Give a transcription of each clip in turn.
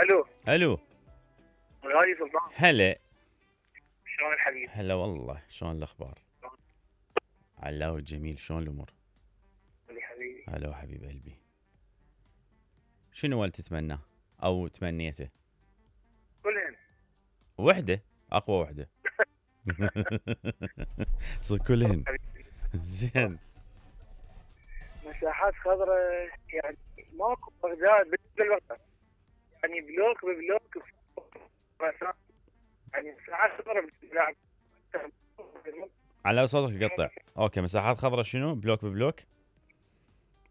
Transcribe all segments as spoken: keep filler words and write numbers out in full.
الو الو غالي سلطان، هلا. شلون الحبيب؟ هلا والله، شلون الاخبار؟ علاوي الجميل، شلون الامور؟ اللي حبيبي هلا حبيب قلبي. شنو ولد تتمناه او تمنيته؟ كلهن وحده، اقوى وحده. صار كلهن. زين. مساحات خضراء يعني ماكو بغداد بالوقت، يعني بلوك ببلوك مساحات، يعني مساحات خضراء بالبلاد. على صوتك يقطع. اوكي، مساحات خضراء شنو؟ بلوك ببلوك؟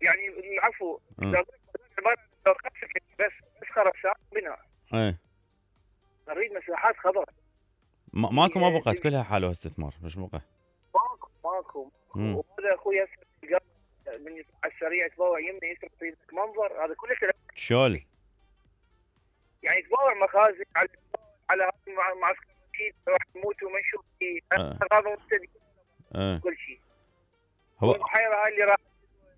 يعني العفو أه. بس بس خرسانة بناء. ايه. نريد مساحات خضراء. ما- ماكو ما بقت، كلها حالها استثمار، مش بقى. ماكو ماكو وهذا اخوي من على السريع يتبوع يمني يسرى يصيدك منظر، هذا كله شول. يعني يتبوع مخازن على على هذا معسكر اكيد راح تموت وما نشوف فيه هذا مبتدئ اه. كل شيء. هو والبحيره هاي اللي راحت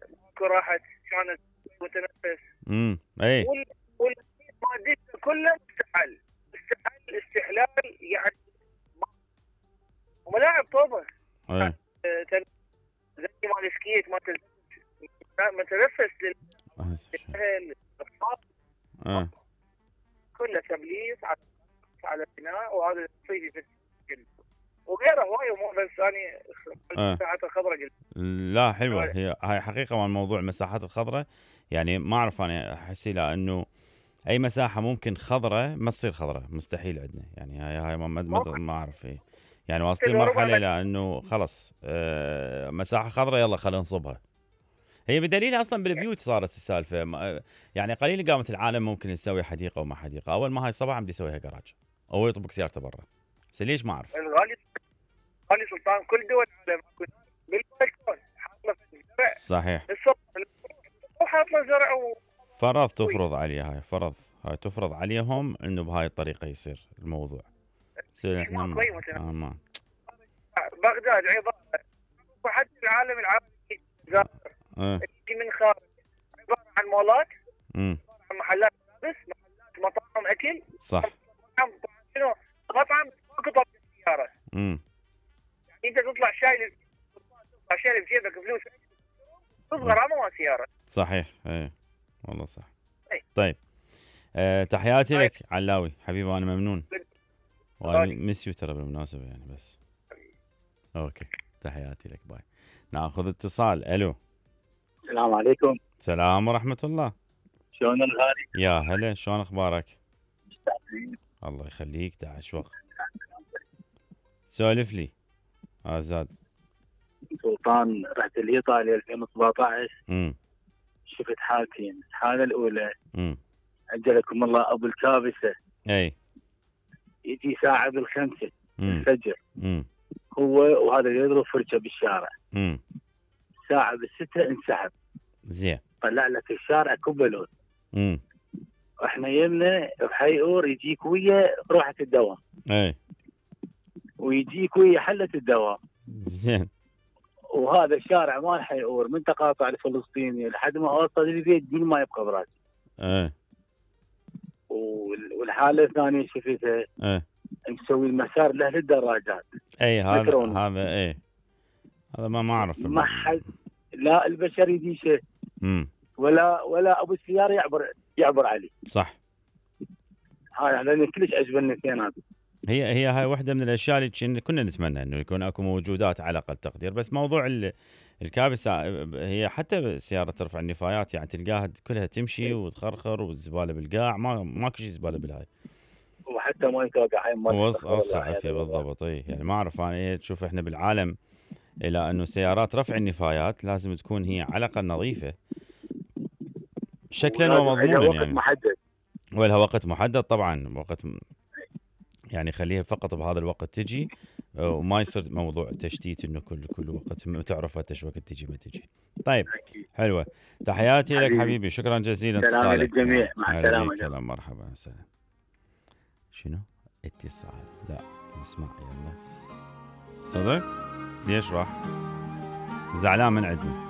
ماكو راحت شلون وتنفس. امم اي. وال والمادته كلها مستحل مستحل استحلال يعني. وملاعب طوبه ايه. زي مال سكيت مال متنفس للاهل اه. كله تبليط على على البناء، وهذا صيدي في السجن وغيره هواي امور، بس انا المساحات الخضراء قلت. لا حلوه هي هاي حقيقه، مال موضوع المساحات الخضراء يعني ما اعرف، انا احس لانه اي مساحه ممكن خضراء ما تصير خضراء، مستحيل عندنا يعني. هاي هاي ما, ما, ما اعرف ايه يعني، واصلين مرحله لانه خلص آه مساحه خضراء يلا خلينا نصبها. هي بدليل اصلا بالبيوت صارت السالفه، يعني قليل قامت العالم ممكن يسوي حديقه وما حديقه، اول ما هاي صباح عم يسويها جراج او يطبق سيارته برا. بس ليش ما اعرف. الغالي غالي سلطان كل دول العالم بالبلكون حاطه زرع. صحيح. وحاطه زرع و... فرض تفرض عليه هاي، فرض هاي تفرض عليهم انه بهاي الطريقه يصير الموضوع. يصير احنا ما آه ما. بغداد عباره وحتى العالم العربي زار اه. من خارج عباره عن مولات، امم عن محلات بس محلات مطاعم اكل. صح. مطعم شنو مطعم قطع سياره. امم انت تطلع شايل تطلع شايل بجيبك فلوس تصغر على سياره. صحيح. ايه والله صح. ايه. طيب آه تحياتي طيب. لك علاوي حبيبي، انا ممنون وانا مسيو ترى بالمناسبه يعني. بس اوكي، تحياتي لك، باي. ناخذ اتصال. الو. السلام عليكم. السلام ورحمه الله. شلون الغالي؟ يا هلا، شلون اخبارك؟ مستعجلين. الله يخليك، داعش وقت. سولف لي آزاد. سلطان رحت لإيطاليا ألفين وسبعطعش. امم شفت حالتين، الحالة الأولى امم أجلكم الله أبو الكابسة. اي. يجي ساعة بالخمسة الفجر. امم هو وهذا يضرب فرشة بالشارع. امم ساعة بالستة انسحب. زين. طلع لك الشارع كبلون. امم واحنا يمنا بحيئور يجيك ويا روحة الدوام. اي. ويجيك ويا حلة الدوام. زين. وهذا الشارع مال حيئور من تقاطع الفلسطيني لحد ما اوصل البيت دون ما يبقى براسي. ايه. والحالة الثانية شفتها ايه. مسوي المسار له للدراجات. اي هذا هذا ايه هذا ما ما اعرف. ما حد لا البشر يديشه. امم ولا ولا ابو السياره يعبر يعبر عليه. صح. هاي لان كلش عجبني الاثنين هذه. هي هي هاي واحده من الاشياء اللي كنا نتمنى انه يكون اكو موجودات على اقل تقدير. بس موضوع الكابسه هي حتى سياره ترفع النفايات يعني تلقاها كلها تمشي وتخرخر والزباله بالقاع، ما ماكو شيء زباله بالهاي. وحتى ما يتوقع هاي ما وسخه عافيه بالضبط. اي يعني ما اعرف انا ايه، تشوف احنا بالعالم الى انه سيارات رفع النفايات لازم تكون هي على الاقل نظيفه شكلا ومضمونا وقت يعني. محدد. ولها وقت محدد طبعا، وقت يعني خليها فقط بهذا الوقت تجي، وما يصير موضوع تشتيت انه كل كل وقت تعرف ايش وقت تجي ما تجي. طيب حلوه، تحياتي حبيبي. لك حبيبي، شكرا جزيلا. سلام للجميع، مع السلامه. سلام، مرحبا، سلام. شنو اتصال؟ لا نسمع يلا. صدق ليش راح؟ زعلان من عندنا.